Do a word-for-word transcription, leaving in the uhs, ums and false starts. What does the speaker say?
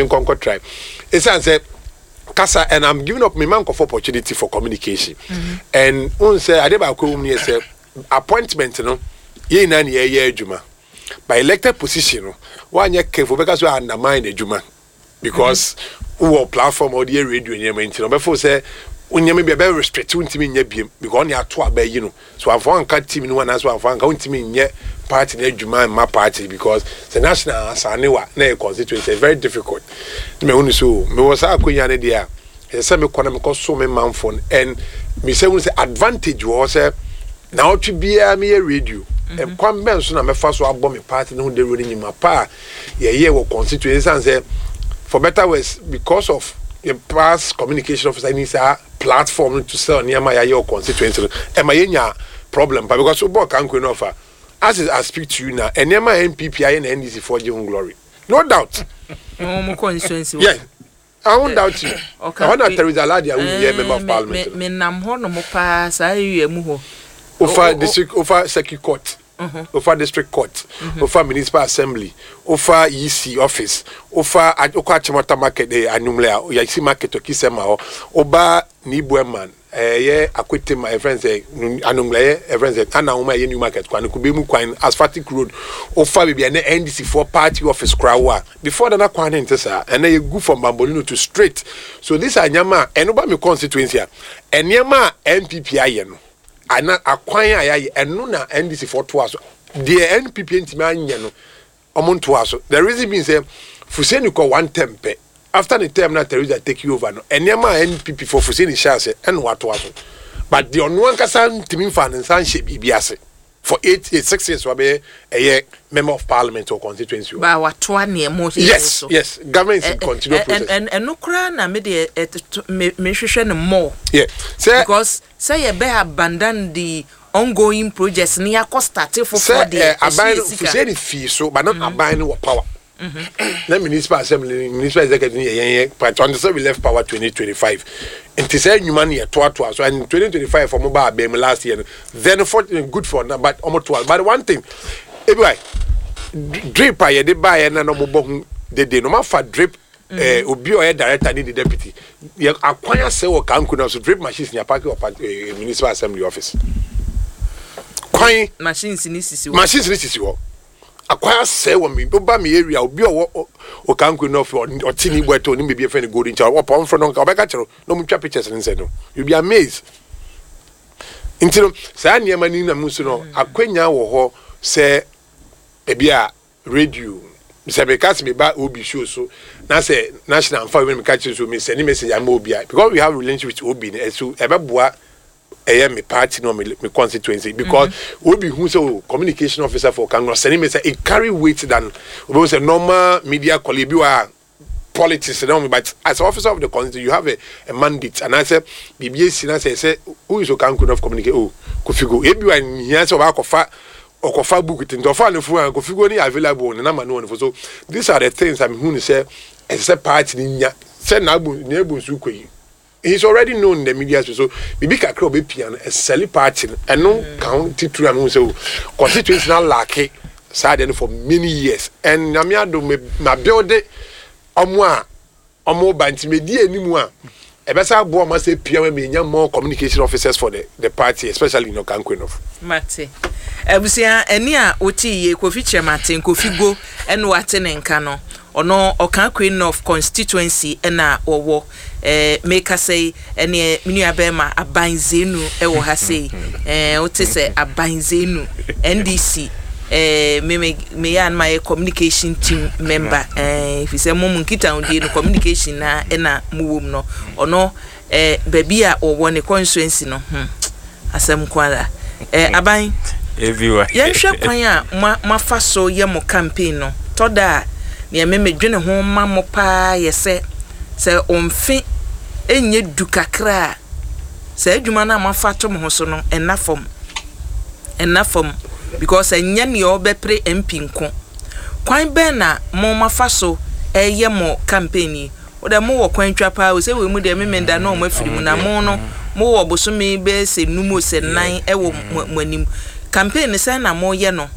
Me nkɔnkɔ try esan sɛ kasa and I'm giving up me man for opportunity for communication mm -hmm. And n sɛ ade baako mu yɛ sɛ appointment no, yɛn nyinaa ni yɛyɛ adwuma by elected position no, wanyɛ careful, bɛka so undermine adwuma because wowɔ platform a wɔde yɛ radio nneɛma, nti no ɔbɛfo sɛ nneɛma bi a bɛ restrict, wontumi nyɛ biem because ɔne ato aba yi no so amfa anka team no ho anaasɛ amfa anka, wontumi nyɛ party no adwuma mma party because sɛ national asane wa na yɛ constituency, very difficult. Ne mɛhu so mewɔ saa akonnwa no deɛ a, ɛsɛ sɛ mekɔ na mekɔ so me manfo no and mesɛ hu sɛ advantage wɔ hɔ sɛ naawɔtwe biara meyɛ radio. Kwan bɛn so na mɛfa so abɔ me party no ho dawuro no nyima pa a yɛyɛ wɔ constituency san sɛ for better worse because of the past communication officer ni saa platform to sell nneɛma yɛayɛ wɔ constituency no, ɛma yɛnya problem pa because wobɔ Okaikwei no ɔfa as I speak to you now, nneɛma a N P P ayɛ na N D C foɔ gye ho glory, no doubt. Wɔn constituency. Yeah, I won't doubt you. Ɛhɔ na Teresa Aladi awo yɛ member of parliament. Me nam hɔ nom paa, saa area mu hɔ. Ofa district, ofa circuit court, ofa district court, ofa municipal assembly, ofa E C office, ofa okɔ Achimota market, eh, Anumle a yɛsi market okisɛm hɔ, oba Nibueman, ɛyɛ Akwetema, ɛfrɛn sɛ Anumle, ɛyɛ ɛfrɛn sɛ Anahoma, ɛyɛ new market kwan, Kubemu kwan, asphaltic road, ofa beebi a ɛnɛ N D C foɔ party office kora wo a before dana kwan ne nte saa, ɛnɛ yɛ gu from Bambolino to straight. So these are nneɛma a ɛno ba mi constituency a nneɛma a N P P ayɛ no ana akwan a yɛayɛ, ɛno na N D C foɔ toa so. Deɛ N P P ntumi anyɛ no, ɔmo ntoa so. The reason being sɛ Fuseni kɔ one term pɛ. After the term na Teresa take you over no, nneɛma a N P P foɔ Fuseni hyɛ ase ɛna watoa so, but deɛ ɔno ankasa ntumi nfa ne nsa nhyɛ biribi ase for eight eight six years wabɛyɛ ɛyɛ member of parliament or constituency. Ba watoa nneɛma. yes yes government is in continual process. Ɛno koraa na me deɛ me mehwehwɛ no more. Yeah, sɛ because sɛ yɛbɛ abandon the ongoing projects ni akɔ start foforɔ deɛ. Sɛ aban no Fuseni fii so but not aban no wɔ power na municipal assembly, municipal executive yɛ yɛn yɛ party until say we left power twenty twenty-five. Nti sɛ nnwuma no yɛ toatoa so and twenty twenty-five ɔmo ba abɛn mu last year no, then for good for now, but ɔmo toa. But one thing ebi wa drip a yɛde baayɛ na na ɔmo bɔ ho dede no, ɔmo afa drip ɛɛ obi a ɔyɛ director ne the deputy yɛ akwan asɛ wɔ Okaikwei na so drip machines ni apark wɔ ɛɛ municipal assembly office kwan. Machines ni sisi hɔ. Machines ni sisi hɔ, akwan asɛ wɔ mi ɔba mi area, obi a ɔwɔ Okaikwei na ɔfɛ ɔte ne ibu ɛtɔ ne beebi efɛ ne Golden Child, ɔpɔ nfrɛ no nka ɔbɛka kyerɛ na ɔmo twa pictures ne nsɛ no, you be amazed. Nti no saa nneɛma ni nam so no, akwanya wɔ hɔ sɛ ebi a radio sɛ meka sɛ meba obi show so na sɛ national nfa wei meka kyerɛ so me send message ama obi a because we have relationship with obi no, ɛso ɛbɛboa ɛyɛ me party no, me me constituency because mm -hmm. obi hu sɛ o communication officer for Okaikwei send me sɛ it carry weight than obi hu sɛ normal media colleague bi wa politics no. But as officer of the constituency, you have a, a mandate and I say biribi esi na sɛ sɛ who is Okaikwei of communicate? Oh, Kofigo. Ebi wa nhia sɛ ɔba akɔfa ɔkɔfa book ti nti ɔfa ne phone a Kofigo ni available ne nama no wɔ ne fo. So these are the things I'm hu ne sɛ ɛsɛ sɛ party ni nya sɛ n'abu n'ebu nsu kɔ yi, he's already known in the media space, so bibi kakra obe pia no ɛsɛli party no, ɛno ka ho titiri a mehu sɛ o constituency na lack saa deɛ no for many years. And Nyame adom, me ma build ɔmo a ɔmo ba nti me di anim a ɛbɛsa aboa ɔmo asɛ pia ma me nya more communication officers for the the party, especially in Okaikwei North. Mate. Abusua, ɛni a wote yie, Kofi Kyerɛmate Kofi Go ɛna wate ne nka no, ɔno Okaikwei North constituency ɛna wɔwɔ. ɛɛ mekasa yi, ɛne me nua bɛrima Aban Zenu ɛwɔ ha sei. ɛɛ wote sɛ Aban Zenu, N D C, ɛɛ me me me yɛ anuma yɛ communication team member, ɛɛ fi sɛ mo mu nkitahodie no communication na ɛna mo wɔ mu no, ɔno ɛɛ baabi a wɔwɔ ne constituency no, hmm asɛm kwara ɛɛ Aban. Everywhere. Yɛnhwɛ kwan a mo moafa so yɛ mo campaign no. Tɔ da a nea me medwene ho ma mo paa yɛ sɛ sɛ ɔmfe ɛnyɛ du kakra a saa adwuma no a moafa to mo ho so no ɛnna fam, ɛnna fam because ɛnyɛ nea ɔbɛpere M P nko. Kwan bɛn na mo mafa so ɛyɛ mo campaign yi? Wode mowɔ kwan twa paa o, sɛ wei mu deɛ memenda na ɔmo afiri mu na mo no mowɔ bosome bɛyɛ sɛ num o sɛ nan ɛwɔ mo mo anim. Campaign no, sɛn na moyɛ no?